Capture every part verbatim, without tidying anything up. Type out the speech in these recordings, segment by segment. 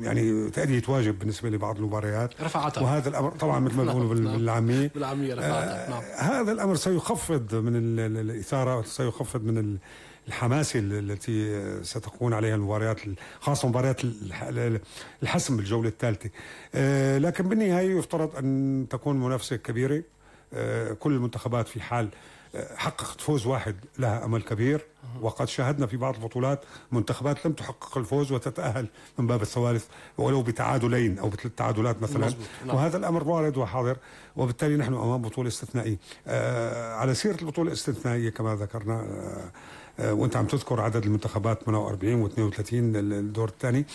يعني تأدية واجب بالنسبة لبعض المباريات رفعتها، وهذا الأمر طبعا مثل ما بيقولوا بالعامية بالعامية رفعتها. نعم. هذا الأمر سيخفض من الإثارة وسيخفض من الحماسة التي ستكون عليها المباريات، خاصة مباريات الحسم بالجولة الثالثة. لكن بالنهاية يفترض أن تكون منافسة كبيرة. كل المنتخبات في حال حققت فوز واحد لها أمل كبير، وقد شاهدنا في بعض البطولات منتخبات لم تحقق الفوز وتتأهل من باب الثوالث ولو بتعادلين أو بثلاث تعادلات مثلا. نعم. وهذا الأمر وارد وحاضر، وبالتالي نحن أمام بطولة استثنائية. آه على سيرة البطولة الاستثنائية كما ذكرنا، آه آه وانت عم تذكر عدد المنتخبات ثمانية وأربعين و اثنين وثلاثين الدور الثاني،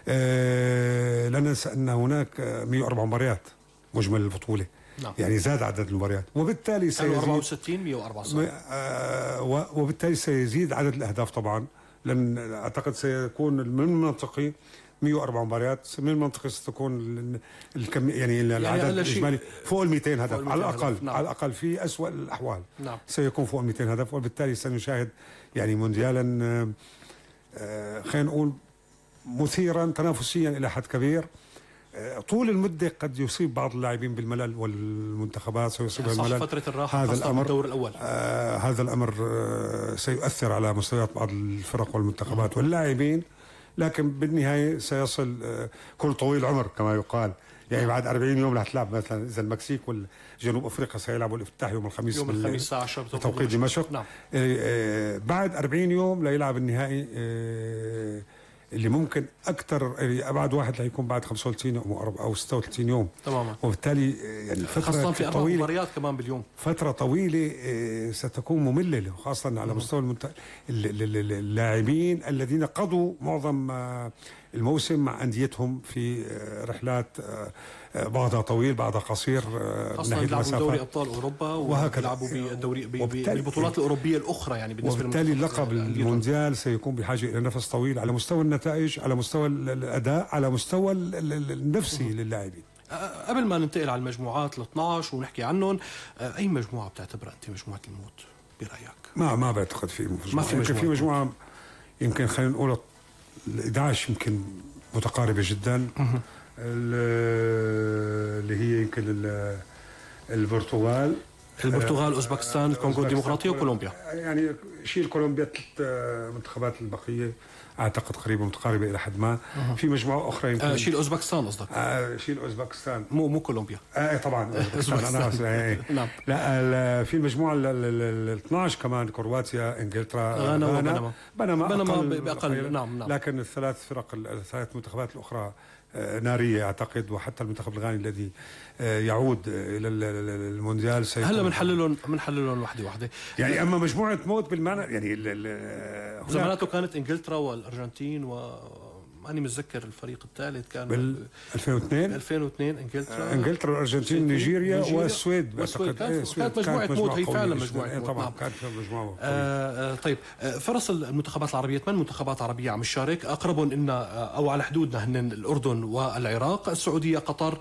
آه لا ننسى أن هناك مئة وأربع مباريات مجمل البطولة. نعم. يعني زاد عدد المباريات، وبالتالي سيزيد أربعة وستين مئة وأربعة وستين آه وبالتالي سيزيد عدد الأهداف طبعا، لأن أعتقد سيكون من المنطقي مئة وأربع مباريات، من المنطقي ستكون الكم يعني العدد يعني الإجمالي فوق ال مئتين هدف على الأقل. نعم. على الأقل في أسوأ الأحوال. نعم. سيكون فوق ال مئتين هدف، وبالتالي سنشاهد يعني مونديالا آه خلينا نقول مثيرا تنافسيا إلى حد كبير. طول المدة قد يصيب بعض اللاعبين بالملل، والمنتخبات سيصيبها الملل. فترة الراحة هذا الأمر الدور الأول. آه هذا الأمر آه سيؤثر على مستويات بعض الفرق والمنتخبات واللاعبين، لكن بالنهاية سيصل آه كل طويل عمر كما يقال. يعني بعد أربعين يوم رح تلعب مثلا إذا المكسيك والجنوب أفريقيا سيلعبوا الافتتاح يوم الخميس يوم الخميس الساعة عشرة بتوقيت دمشق. نعم. آه بعد أربعين يوم ليلعب النهائي آه اللي ممكن اكثر يعني ابعد واحد ليكون بعد خمسة وثلاثين يوم او ستة وثلاثين يوم تماما. وبالتالي يعني خاصة في أربع مباريات كمان باليوم، فترة طويلة ستكون مملة، خاصة على مستوى المنت... اللاعبين الذين قضوا معظم الموسم مع أنديتهم في رحلات بعضها طويل بعضها قصير، خاصة يلعبوا دوري أبطال أوروبا ويلعبوا بالدوري بالبطولات الأوروبية الأخرى. يعني بالنسبة وبالتالي اللقب المونديال سيكون بحاجة إلى نفس طويل على مستوى النتائج، على مستوى الأداء، على مستوى النفسي للاعبين. قبل ما ننتقل على المجموعات ال اثنعش ونحكي عنهم، أي مجموعة بتعتبرها أنت مجموعة الموت برأيك؟ ما ما بعتقد في مجموعة. ما في مجموعة. في مجموعة يمكن خلينا نقول ال إحدى عشر يمكن متقاربة جدا، اللي هي يمكن البرتغال البرتغال اوزبكستان الكونغو الديمقراطية وكولومبيا. يعني شيل كولومبيا، ثلاث منتخبات البقية اعتقد قريبه متقاربه الى حد ما. أه. في مجموعه اخرى يمكن آه شيل اوزبكستان قصدك؟ آه شيل اوزبكستان مو مو كولومبيا. اه طبعا اوزبكستان. نعم. لا في المجموعه ال اثنعش كمان كرواتيا، انجلترا، غانا وبنما. بنما بنما باقل. نعم نعم. لكن الثلاث فرق الثلاث منتخبات الاخرى ناريه اعتقد، وحتى المنتخب الغاني الذي يعود الى المونديال هلا بنحللهم بنحللهم وحده وحده. يعني اما مجموعه موت بالمعنى يعني زماناته كانت انجلترا والارجنتين و ماني متذكر الفريق الثالث كان بال ألفين واثنين ألفين واثنين انجلترا انجلترا والارجنتين نيجيريا والسويد. اعتقد كانت مجموعه موت، هي فعلا مجموعه موت. طبعا كانت مجموعه. آه طيب فرص المنتخبات العربيه، ثمان منتخبات عربيه عم تشارك، اقربهم ان او على حدودنا هن الاردن والعراق، السعوديه، قطر،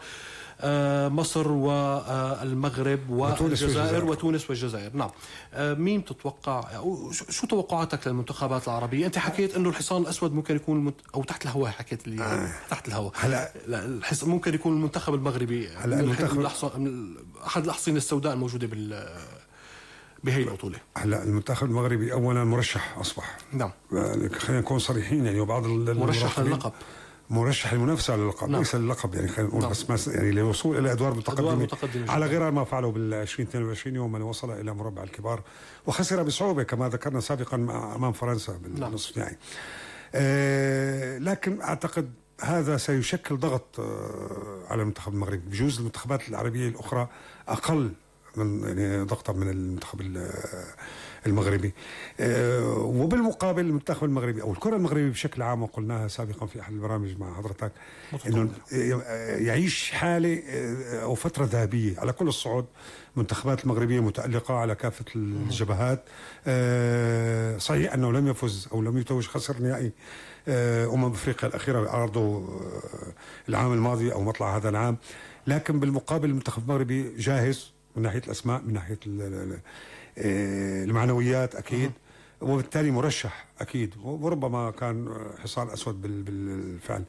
آه مصر والمغرب والجزائر وتونس والجزائر. نعم. آه مين تتوقع أو شو توقعاتك للمنتخبات العربية؟ أنت حكيت إنه الحصان الأسود ممكن يكون المنت... أو تحت الهواء، حكيت لي آه. تحت الهواء. هلا الحص... ممكن يكون المنتخب المغربي هلا المنتخب الأحصن... أحد الأحصنة السوداء الموجودة بال بهي البطولة. هلا المنتخب المغربي أولا مرشح أصبح. نعم. خلينا نكون صريحين يعني، وبعض مرشح للقب، مرشح المنافسة على اللقب. نعم. ليس اللقب يعني خلينا نقول. نعم. بس يعني للوصول إلى أدوار متقدمة, متقدمة على غير ما فعلوا بالعشرين اثنين وعشرين يوم من وصل إلى مربع الكبار، وخسر بصعوبة كما ذكرنا سابقا أمام فرنسا بالنصف النهائي. آه لكن أعتقد هذا سيشكل ضغط آه على المنتخب المغربي. بجوز المنتخبات العربية الأخرى أقل من يعني ضغطا من المنتخب المغربي. أه وبالمقابل المنتخب المغربي او الكره المغربيه بشكل عام، وقلناها سابقا في احد البرامج مع حضرتك، انه يعيش حاله او فتره ذهبيه على كل الصعود. المنتخبات المغربيه متالقه على كافه الجبهات. أه صحيح انه لم يفز او لم يتوج، خسر نهائي امم افريقيا الاخيره بعرضه العام الماضي او مطلع هذا العام، لكن بالمقابل المنتخب المغربي جاهز من ناحيه الاسماء، من ناحيه المعنويات اكيد، وبالتالي مرشح اكيد، وربما كان حصان اسود بالفعل.